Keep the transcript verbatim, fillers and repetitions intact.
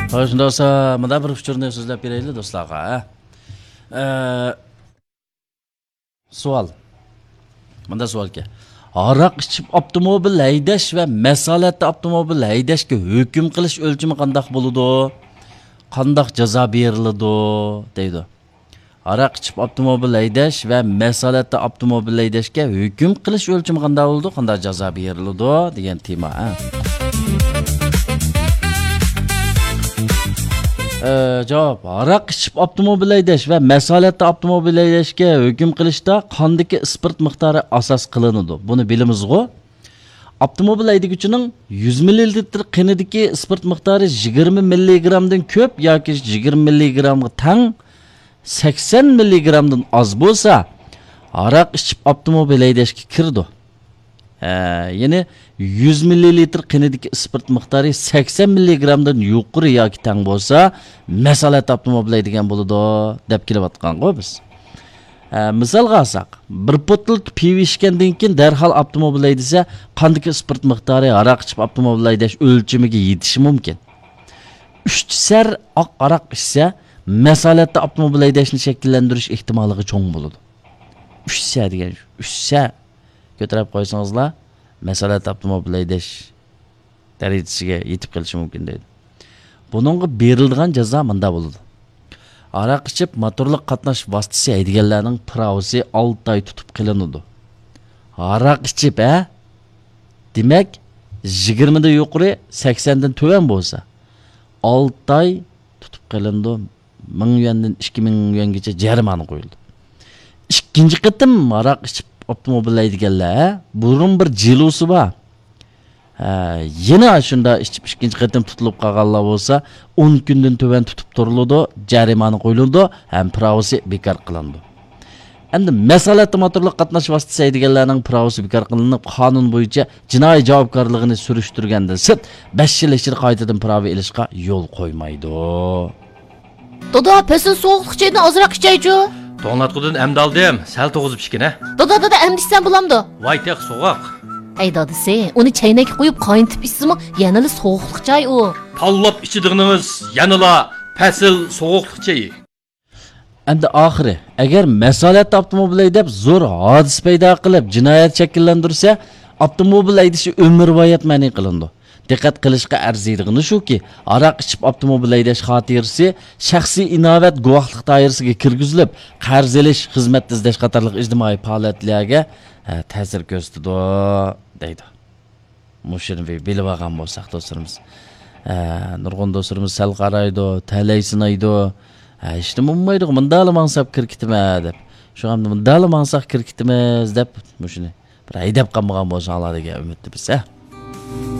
خوش، ئۇنداق بولسا مۇنداق بىر ئۇچۇرنى سۆزلەپ بېرەيلى دوستلارغا، ھە؟ ئە، سوئال. مۇنداق سوئالكەن. ھاراق ئىچىپ ئاپتوموبىل ھەيدەش ۋە مەسئۇلىيەتتە ئاپتوموبىل ھەيدەشكە ھۆكۈم قىلىش ئۆلچىمى قانداق بولىدۇ؟ قانداق جازا بېرىلىدۇ؟ دەيدۇ. ھاراق ئىچىپ ئاپتوموبىل ھەيدەش ۋە مەسئۇلىيەتتە ئاپتوموبىل ھەيدەشكە ھۆكۈم قىلىش ئۆلچىمى قانداق بولىدۇ؟ قانداق جازا بېرىلىدۇ؟ دېگەن تېما، ھە. ئە، جاۋاب. ھاراق ئىچىپ ئاپتوموبىل ھەيدەش ۋە مەسئۇلىيەتتە ئاپتوموبىل ھەيدەشكە ھۆكۈم قىلىشتا قاندىكى ئىسپىرت مىقدارى ئاساس قىلىنىدۇ. بۇنى بىلىمىزغۇ. ئاپتوموبىل ھەيدىگۈچىنىڭ يۈز مىللىلىتىر قېنىدىكى ئىسپىرت مىقدارى يىگىرمە مىللىگرامدىن كۆپ ياكى يىگىرمە مىللىگرامغا تەڭ، سەكسەن مىللىگرامدىن ئاز بولسا، ھاراق ئىچىپ ئاپتوموبىل ھەيدەشكە كىرىدۇ. ھە، يەنى يۈز مىللىلىتىر قېنىدىكى ئىسپىرت مىقدارى سەكسەن مىللىگرامدىن يۇقىرى ياكى تەڭ بولسا، مەسئۇلىيەتتە ئاپتوموبىل ھەيدىگەن بولىدۇ، دەپ كېلىۋاتقانغۇ بىز. ھە، مىسالغا ئالساق، بىر بوتۇل پىۋا ئىچكەندىن كېيىن دەرھال ئاپتوموبىل ھەيدىسە، قاندىكى ئىسپىرت مىقدارى ھاراق ئىچىپ ئاپتوموبىل ھەيدەش ئۆلچىمىگە يېتىشى مۇمكىن. ئۈچ سەر ئاق ھاراق ئىچسە، مەسئۇلىيەتتە ئاپتوموبىل ھەيدەشنى شەكىللەندۈرۈش ئېھتىماللىقى چوڭ بولىدۇ. ئۈچ سە دېگەن، ئۈچ سە كۆتۈرۈپ قويسىڭىزلا، مەسئۇلىيەتتە ئاپتوموبىل ھەيدەش دەرىجىسىگە يېتىپ قېلىشى مۇمكىن دەيدۇ. بۇنىڭغا بېرىلىدىغان جازا مۇنداق بولىدۇ. ھاراق ئىچىپ موتورلۇق قاتناش ۋاسىتىسى ھەيدىگەنلەرنىڭ پىراۋىسى ئالتە ئاي تۇتۇپ قېلىنىدۇ. ھاراق ئىچىپ، ھە؟ دېمەك، يىگىرمىدىن يۇقىرى، سەكسەندىن تۆۋەن بولسا، ئالتە ئاي تۇتۇپ قېلىنىدۇ. مىڭ يۈەندىن ئىككى مىڭ يۈەنگىچە جەرىمانە قويۇلىدۇ. ئىككىنچى قېتىم ھاراق ئىچىپ ئاپتوموبىل ھەيدىگەنلەر، بۇرۇن بىر جېلۇسى بار. ھە، يەنە شۇنداق ئىچىپ ئىككىنچى قېتىم تۇتۇلۇپ قالغانلار بولسا، ئون كۈندىن تۆۋەن تۇتۇپ تۇرۇلىدۇ، جەرىمانە قويۇلىدۇ ھەم پىراۋىسى بىكار قىلىنىدۇ. ئەمدى مەسئۇلىيەتتە موتورلۇق قاتناش ۋاسىتىسى ھەيدىگەنلەرنىڭ پىراۋىسى بىكار قىلىنىپ، قانۇن بويىچە جىنايى جاۋابكارلىقىنى سۈرۈشتۈرگەندىن سىرت، بەش يىل ئىچىدە قايتىدىن پىراۋا ئېلىشقا يول قويمايدۇ. دادا، پەسىل سوغۇقلۇق چايدىن ئازراق ئىچەيچۇ. توڭلاتقۇدىن ئەمدى ئالدىم، سەل توغۇزۇپ ئىچكىنە. دادا، دادا، ئەمدى ئىچسەم بولامدۇ؟ ۋاي، تېخى سوغۇق. ئەي دادىسى، ئۇنى چەينەككە قۇيۇپ قاينىتىپ ئىچسىمۇ يەنىلا سوغۇقلۇق چاي ئۇ. تاللاپ ئىچىدىغىنىڭىز يەنىلا پەسىل سوغۇقلۇق چېيى. ئەمدى ئاخىرى، ئەگەر مەسئۇلىيەتتە ئاپتوموبىل ھەيدەپ زور ھادىسە پەيدا قىلىپ جىنايەت شەكىللەندۈرسە، ئاپتوموبىل ھەيدىشى ئۆمۈرۋايەت مەنئى قىلىنىدۇ. دىققەت قىلىشقا ئەرزىيدىغىنى شۇكى، ھاراق ئىچىپ ئاپتوموبىل ھەيدەش خاتىرىسى شەخسىي ئىناۋەت گۇۋاھلىق دائىرىسىگە كىرگۈزۈلۈپ، قەرز ئېلىش، خىزمەت ئىزدەش قاتارلىق ئىجتىمائىي پائالىيەتلەرگە، ھە، تەسىر كۆرسىتىدۇ، دەيدۇ. مۇشۇنى بىر بىلىۋالغان بولساق دوستلىرىمىز. ھە، نۇرغۇن دوستلىرىمىز سەل قارايدۇ، تەلەيسىنايدۇ. ھە، ھېچنېمە بولمايدىغۇ، مۇنداقلا ماڭساق كىرىپ كېتىمەن دەپ. شۇڭا مۇنداقلا ماڭساق كىرىپ كېتىمىز دەپ، مۇشۇنى بىر ھەيدەپ قالمىغان بولساڭلار دېگەن ئۈمىدتىمىز، ھە.